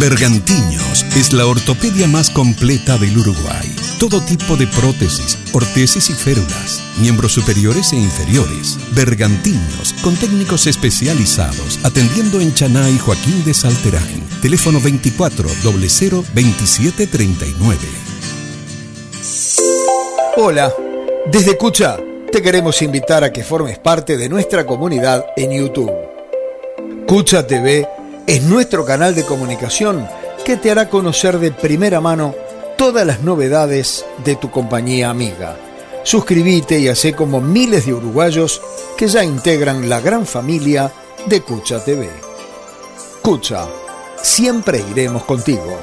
Bergantiños es la ortopedia más completa del Uruguay. Todo tipo de prótesis, ortesis y férulas, miembros superiores e inferiores. Bergantiños, con técnicos especializados, atendiendo en Chaná y Joaquín de Salterain. Teléfono 24 00 27 39. Hola, desde Cucha te queremos invitar a que formes parte de nuestra comunidad en YouTube. Cucha TV es nuestro canal de comunicación que te hará conocer de primera mano todas las novedades de tu compañía amiga. Suscríbete y hacé como miles de uruguayos que ya integran la gran familia de Cucha TV. Cucha, siempre iremos contigo.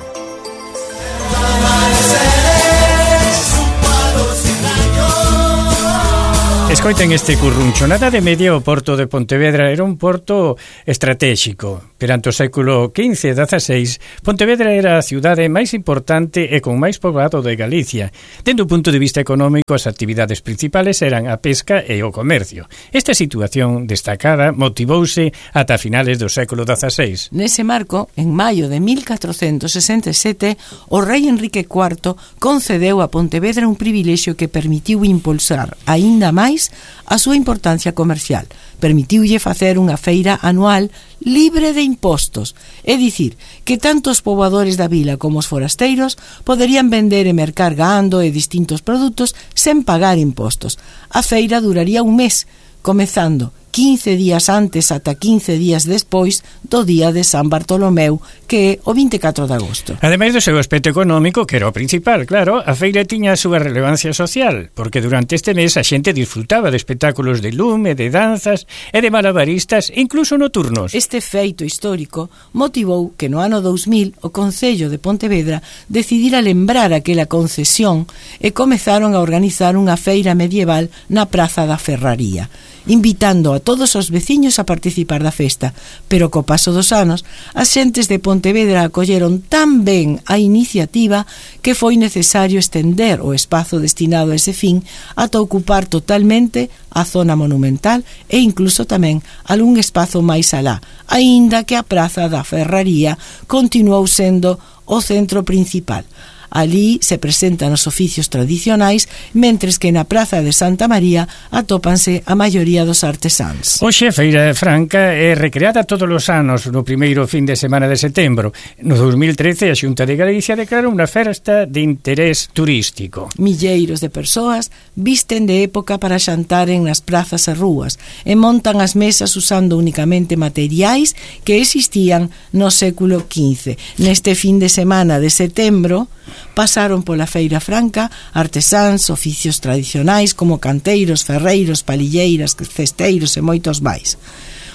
Escoiten este currunchonada de media. O porto de Pontevedra era un porto estratégico. Perante o século XV e XVI, Pontevedra era a cidade máis importante e con máis poboado de Galicia. Dende o punto de vista económico, as actividades principales eran a pesca e o comercio. Esta situación destacada motivouse ata finales do século XVI. Nese marco, en maio de 1467, o rei Enrique IV concedeu a Pontevedra un privilexio que permitiu impulsar aínda máis a súa importancia comercial. Permitiulle facer unha feira anual libre de impostos, é dicir, que tanto os poboadores da vila como os forasteiros poderían vender e mercar gando e distintos produtos sen pagar impostos. A feira duraría un mes, comezando 15 días antes ata 15 días despois do día de San Bartolomeu, que é o 24 de agosto. Ademais do seu aspecto económico, que era o principal, claro, a feira tiña a súa relevancia social, porque durante este mes a xente disfrutaba de espectáculos de lume, de danzas e de malabaristas, incluso nocturnos. Este feito histórico motivou que no ano 2000 o Concello de Pontevedra decidira lembrar aquela concesión e comezaron a organizar unha feira medieval na Praza da Ferraría, invitando a todos os veciños a participar da festa, pero co paso dos anos, as xentes de Pontevedra acolleron tan ben a iniciativa que foi necesario estender o espazo destinado a ese fin ata ocupar totalmente a zona monumental e incluso tamén algún espazo máis alá, aínda que a Praza da Ferraría continuou sendo o centro principal. Alí se presentan os oficios tradicionais, mentres que na Praza de Santa María atópanse a maioría dos artesáns. Hoxe a Feira Franca é recreada todos os anos no primeiro fin de semana de setembro. No 2013 a Xunta de Galicia declarou unha festa de interés turístico. Milleiros de persoas visten de época para xantaren nas prazas e rúas e montan as mesas usando únicamente materiais que existían no século XV. Neste fin de semana de setembro pasaron pola Feira Franca artesáns, oficios tradicionais como canteiros, ferreiros, palilleiras, cesteiros e moitos máis.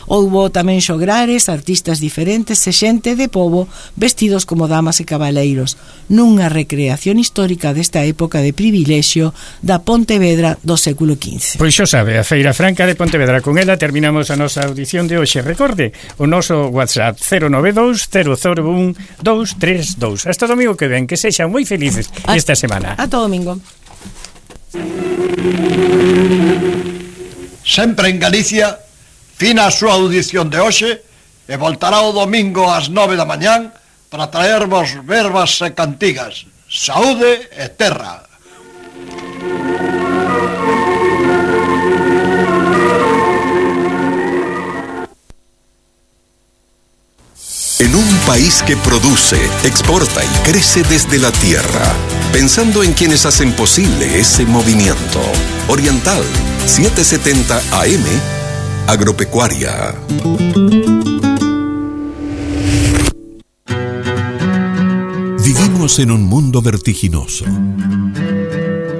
Houbo tamén xograres, artistas diferentes e xente de pobo vestidos como damas e cabaleiros, nunha recreación histórica desta época de privilexio da Pontevedra do século XV. Pois xo sabe, a Feira Franca de Pontevedra. Con ela terminamos a nosa audición de hoxe. Recorde o noso WhatsApp 092 001 232. Hasta domingo que ven, que sexan moi felices esta semana. Ata domingo. Sempre en Galicia, fina a súa audición de hoxe e voltará o domingo ás 9 da mañán para traervos verbas e cantigas. Saúde e terra. En un país que produce, exporta y crece desde la tierra, pensando en quienes hacen posible ese movimiento. Oriental 770 AM Agropecuaria. Vivimos en un mundo vertiginoso,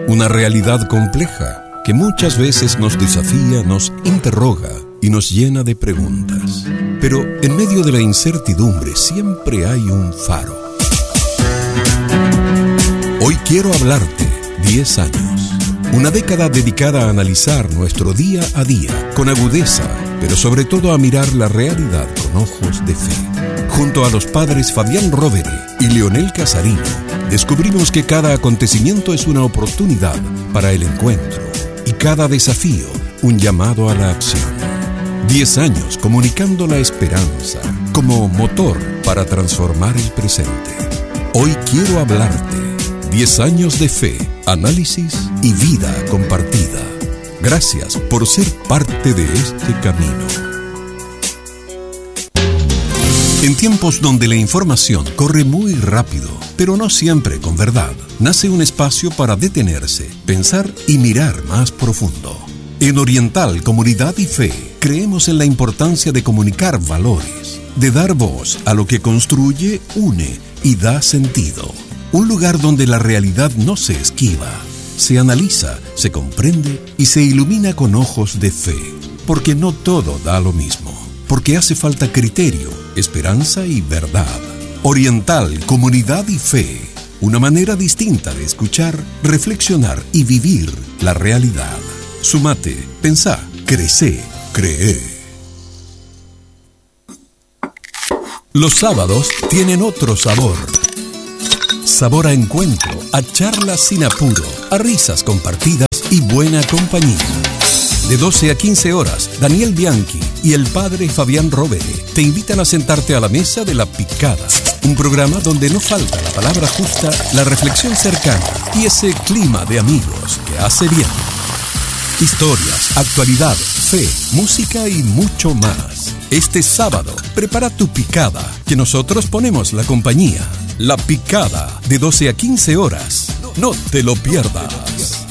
una realidad compleja que muchas veces nos desafía, nos interroga y nos llena de preguntas. Pero en medio de la incertidumbre siempre hay un faro. Hoy quiero hablarte 10 años. Una década dedicada a analizar nuestro día a día con agudeza, pero sobre todo a mirar la realidad con ojos de fe. Junto a los padres Fabián Rovere y Leonel Casarino, descubrimos que cada acontecimiento es una oportunidad para el encuentro y cada desafío un llamado a la acción. 10 años comunicando la esperanza como motor para transformar el presente. Hoy quiero hablarte. 10 años de fe, análisis y vida compartida. Gracias por ser parte de este camino. En tiempos donde la información corre muy rápido, pero no siempre con verdad, nace un espacio para detenerse, pensar y mirar más profundo. En Oriental Comunidad y Fe, creemos en la importancia de comunicar valores, de dar voz a lo que construye, une y da sentido. Un lugar donde la realidad no se esquiva, se analiza, se comprende y se ilumina con ojos de fe. Porque no todo da lo mismo. Porque hace falta criterio, esperanza y verdad. Oriental, Comunidad y Fe. Una manera distinta de escuchar, reflexionar y vivir la realidad. Sumate, pensá, crecé, cree. Los sábados tienen otro sabor. Sabor a encuentro, a charlas sin apuro, a risas compartidas y buena compañía. De 12 a 15 horas, Daniel Bianchi y el padre Fabián Rovere te invitan a sentarte a la mesa de La Picada, un programa donde no falta la palabra justa, la reflexión cercana y ese clima de amigos que hace bien. Historias, actualidad, fe, música y mucho más. Este sábado, prepara tu picada, que nosotros ponemos la compañía. La Picada, de 12 a 15 horas. No te lo pierdas.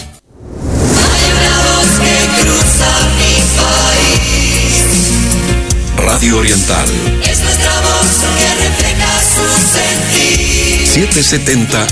Hay una voz que cruza mi país. Radio Oriental. Es nuestra voz que refleja su sentir. 770